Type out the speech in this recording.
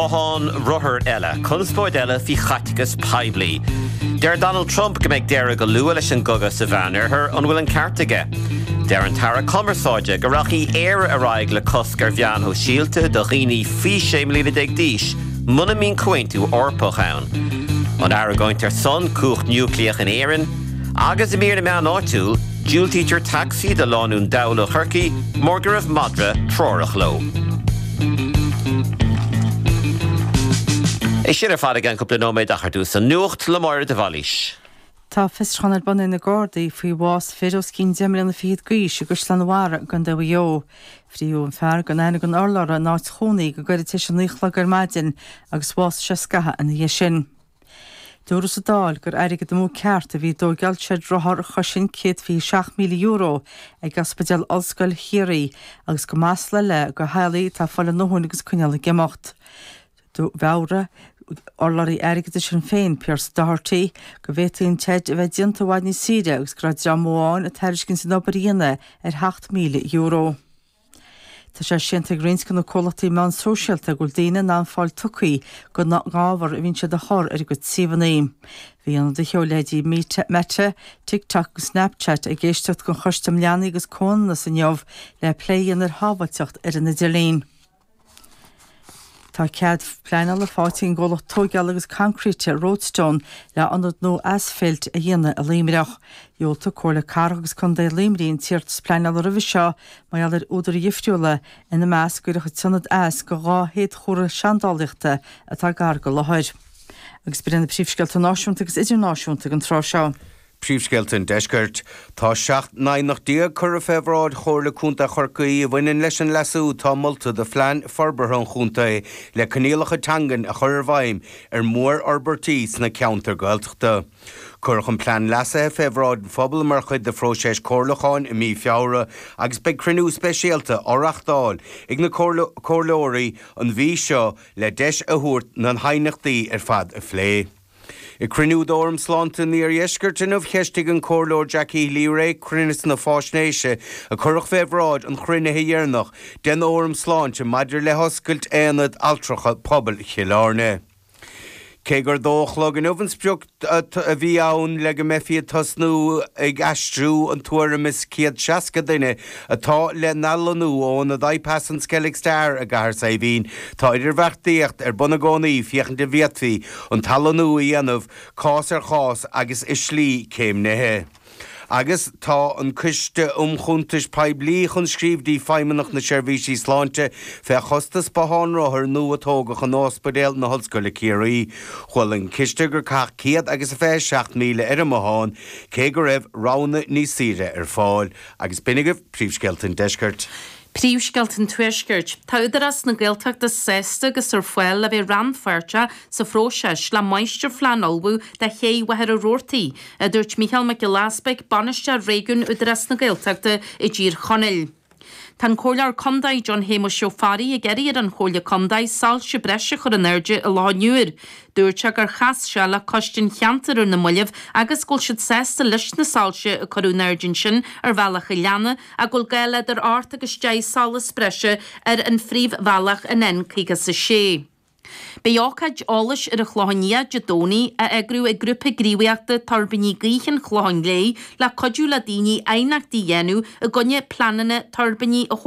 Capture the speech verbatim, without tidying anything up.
Bothán rothar eile, conspóid eile faoi chaiteachas poiblí. Deir Donald Trump go mbeidh deireadh go luath leis an gcogadh sa Mheánoirthear an bhfuil an ceart aige. Deir an tAire Cumarsáide go rachaidh Éire ar aghaidh le cosc ar mheáin shóisialta do dhaoine faoi sé mbliana déag d'aois, muna mbíonn comhaontú Eorpach ann. An argóint ar son cumhacht núicléach in Éirinn, agus i mír na meán áitiúil, diúltaítear tacsaí do lánúin dall ó Chorcaigh mar go raibh madra treorach leo. É sin ar fad i gceann cúpla nóiméad ach ar dtús an nuacht le Máire de Bhailís. Tá fiosrúchán ar bun ag na Gardaí faoi bhás fir os cionn deich mbliana fichead d'aois i gCaisleán an Bharraigh i gContae Mhaigh Eo. Frítheadh an fear gan aithne gan urlabhra ina áit chónaí go gairid tar éis a naoi a chlog ar maidin agus bhásaigh sé scaitheamh ina dhiaidh sin. Dúradh sa Dáil gur airgead amú ceart a bhí i dtóigeáil seid rothar a chosain céad fiche seacht míle euro ag Ospidéal Ollscoil Chiarraí agus gur masla eile do theaghlaigh atá ag fáil a ndóthain agus ag coinneáil ag imeacht. Mheabhraigh urlabhraí airgeadais Shinn Féin, Pearse Doherty, go bhféadfaí an tseid a bheith déanta i bhfad níos saoire agus go raibh dream amháin ag tairiscint an obair a dhéanamh ar sheacht míle euro. Tá sé séanta ag roinnt de na comhlachtaí meán sóisialta go bhfuil daoine in ann fáil tugtha don ábhar a bhíonn siad a chur ar a gcuid suíomhanna. Bhí ionadaithe ó leithéidí Meta, TikTok agus Snapchat ag éisteacht don Choiste um Leanaí agus Comhionannas inniu le plé a dhéanamh ar shábháilteacht ar an idirlíon. Tá cead pleanála faighte ag an gcomhlacht tóigeála agus coincréite Roadstone le ionad nua asfailt a dhéanamh i Luimneach. Dhiúltaigh Comhairle Cathrach agus Contae Luimnigh an t-iarratas pleanála roimhe seo mar gheall ar údair dhifriúla, ina measc go gcuirfeadh an t-ionad as do dhá shéadchomhartha seandálaíochta atá gar don láthair. Agus b'in iad na príomhscéalta náisiúnta agus idirnáisiúnta ag an tráth seo. Príomhscéalta an Deiscirt. Tá seacht n-aighneacht déag curtha fé bhráid Chomhairle Contae Chorcaí a bhaineann leis an leasú atá molta do phlean forbartha an chontae le coinníollacha teangan a chur i bhfeidhm ar mhórfhorbairtí sna ceantair Gaeltachta. Cuireadh an plean leasaithe fé bhráid an phobail mar chuid de phróiseas comhairliúcháin i mí Feabhra agus beidh cruinniú speisialta á reáchtáil ag na comhairleoirí an mhí seo le deis a thabhairt na haighneachtaí ar fad a phlé. Ag cruinniú d'Fhóram Sláinte an Iardheiscirt inniu cheistigh an Comhairleoir Jackie Healy-Rae cruinneas na faisnéise a cuireadh fé bhráid an chruinnithe dheireanach den Fhóram Sláinte maidir le hoscailt Aonad Altracha Pobail Chill Airne. Cé gur dó a chlog inniu an sprioc a bhí ann le go mbeifí ag tosnú ag aistriú an tuairim is céad seasca duine atá le n-athlonnú ó ionad IPAS an Skellig Star i gCathair Saidhbhín, tá idirbheartaíocht ar bun i gcónaí féachaint an bhféadfaí an t-athlonnú a dhéanamh cás ar chás agus i slí céimnithe. Agus tá an Coiste um Chuntais Poiblí chun scríobh dtí Feidhmeannacht na Seirbhísí Sláinte fé chostas bothán rothar nua a tógadh in Ospidéal na hOllscoile Ciarraí. Chuala an Ciste gur caitheadh céad agus a fiche seacht míle ar an mbothán, cé go raibh roghanna níos saoire ar fáil. Agus b'in agaibh príomhscéalta an deiscirt. Príomhscéalta an Tuaiscirt. Tá Údarás na Gaeltachta sásta agus ar fáil le bheith rannpháirteach sa phróiseas le máistirphlean a ullmhú do Ché Mhachaire Rabhartaigh, a dúirt Mícheál Mac Giolla Easpaig, Bainisteoir Réigiúin Údarás na Gaeltachta i dTír Chonaill. Tá an Comhairleoir Contae John Shéamuis Ó Fearraigh ag iarraidh ar an Chomhairle Contae soilse breise a chur in airde i Loch an Iúir. Dúirt sé gur chas sé le Coiste an Cheantair ar na mallaibh agus go bhfuil siad sásta leis na soilse a cuireadh in airde ansin ar Bhealach an Leanna ach go bhfuil gá le idir ocht agus deich solas breise ar an phríomhbhealach an N caoga is a sé. Beidh ócáid eolais ar an Chlochán Liath Dé Domhnaigh á eagrú ag Grúpa Gníomhaíochta Tuirbíní Gaoithe an Chlocháin Léith le cuidiú le daoine aighneachtaí a dhéanamh i gcoinne pleananna tuirbíní a